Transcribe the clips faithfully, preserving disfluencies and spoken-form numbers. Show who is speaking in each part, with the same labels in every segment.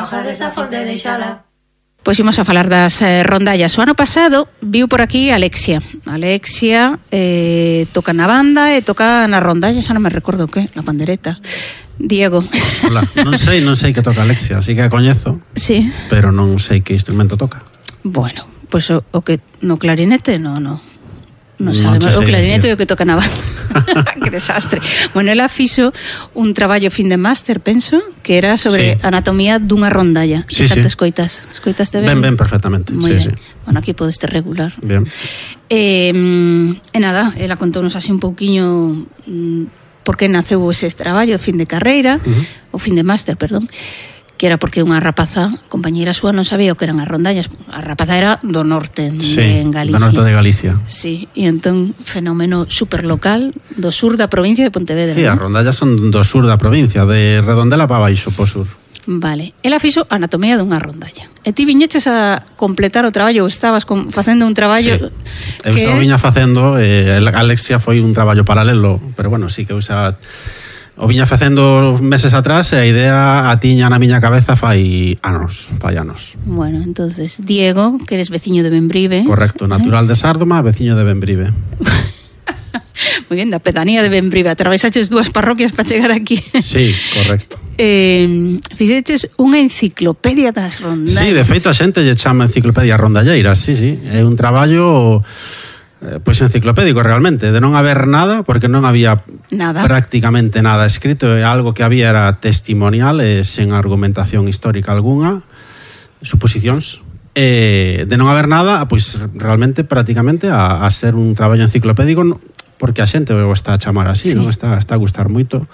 Speaker 1: auga desa fonte deixala.
Speaker 2: Pois imos a falar das eh, rondallas. O ano pasado viu por aquí Alexia. Alexia eh, toca na banda e toca na rondalla, xa non me recordo que, na pandereta. Diego.
Speaker 3: Hola, non sei, non sei que toca Alexia, así que a coñezo.
Speaker 2: Sí.
Speaker 3: Pero non sei que instrumento toca.
Speaker 2: Bueno, pois o, o que no clarinete, no, no. Non
Speaker 3: Non
Speaker 2: sabemos, o
Speaker 3: sei
Speaker 2: clarinete é
Speaker 3: decir.
Speaker 2: o que toca na banda. Que desastre. Bueno, ela fixo un traballo fin de máster, penso, que era sobre
Speaker 3: Sí.
Speaker 2: anatomía dunha rondalla.
Speaker 3: Sí,
Speaker 2: Tanto
Speaker 3: sí.
Speaker 2: escoitas, escoitaste ben?
Speaker 3: Ben, ben, perfectamente.
Speaker 2: Moi
Speaker 3: Sí,
Speaker 2: ben.
Speaker 3: sí.
Speaker 2: Bueno, aquí podeste regular.
Speaker 3: Bien.
Speaker 2: E, e nada, ela contou-nos así un pouquiño mm, por que naceu ese traballo, fin de carreira,
Speaker 3: Uh-huh.
Speaker 2: o fin de máster, perdón, que era porque unha rapaza, compañeira súa, non sabía o que eran as rondallas. A rapaza era do norte,
Speaker 3: Sí,
Speaker 2: de en Galicia.
Speaker 3: do norte de Galicia.
Speaker 2: Sí, e entón fenómeno superlocal do sur da provincia de Pontevedra.
Speaker 3: Sí, as
Speaker 2: ¿no?
Speaker 3: rondallas son do sur da provincia, de Redondela para baixo, po sur.
Speaker 2: Vale, ela fixo anatomía dunha rondalla. E ti viñeches a completar o traballo, ou estabas con, facendo un traballo
Speaker 3: Sí. Eu
Speaker 2: que
Speaker 3: xa o viña facendo, eh, Alexia foi un traballo paralelo, pero bueno, sí que eu xa o viña facendo meses atrás e a idea a tiña na miña cabeza fai anos, fai anos.
Speaker 2: Bueno, entonces Diego, que eres veciño de Bembrive.
Speaker 3: Correcto, natural de Sárdoma, veciño de Bembrive.
Speaker 2: Moi bien, da pedanía de Bembrive. Atravesaches dúas parroquias para chegar aquí.
Speaker 3: Sí, correcto.
Speaker 2: Eh, fixeches unha enciclopedia das rondallas.
Speaker 3: Sí, de feito a xente lle chama enciclopedia rondalleiras, sí, sí. É un traballo eh, pois enciclopédico realmente, de non haber nada, porque non había
Speaker 2: Nada.
Speaker 3: prácticamente nada escrito, e algo que había era testimonial e sen argumentación histórica algunha, suposicións. E de non haber nada, pois realmente prácticamente a, a ser un traballo enciclopédico, no- porque a xente o está a chamar así,
Speaker 2: Sí.
Speaker 3: non está, está a gustar moito.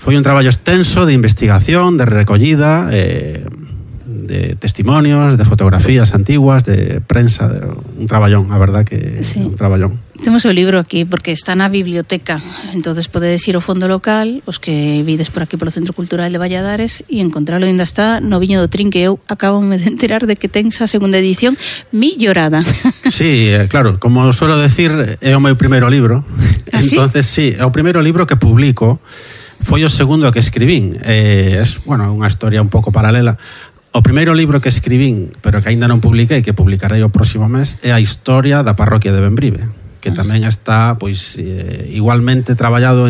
Speaker 3: Foi un traballo extenso de investigación, de recollida, eh, de testimonios, de fotografías antiguas, de prensa, de, un traballón, a verdad que
Speaker 2: Sí.
Speaker 3: un traballón.
Speaker 2: Temos o libro aquí porque está na biblioteca. Entonces podedes ir ao fondo local, os que vides por aquí polo Centro Cultural de Valladares, e encontralo. Ainda está no Viño do Trin, que eu acabo de enterar de que ten esa segunda edición millorada.
Speaker 3: Sí, eh, claro, como suelo decir, é o meu primeiro libro.
Speaker 2: ¿Ah, sí?
Speaker 3: Entonces, sí, é o primeiro libro que publico. Foi o segundo que escribín. Eh, es, bueno, unha historia un pouco paralela. O primeiro libro que escribín, pero que aínda non publiquei, que publicarei o próximo mes, é a historia da parroquia de Bembrive, que tamén está, pois, eh, igualmente traballado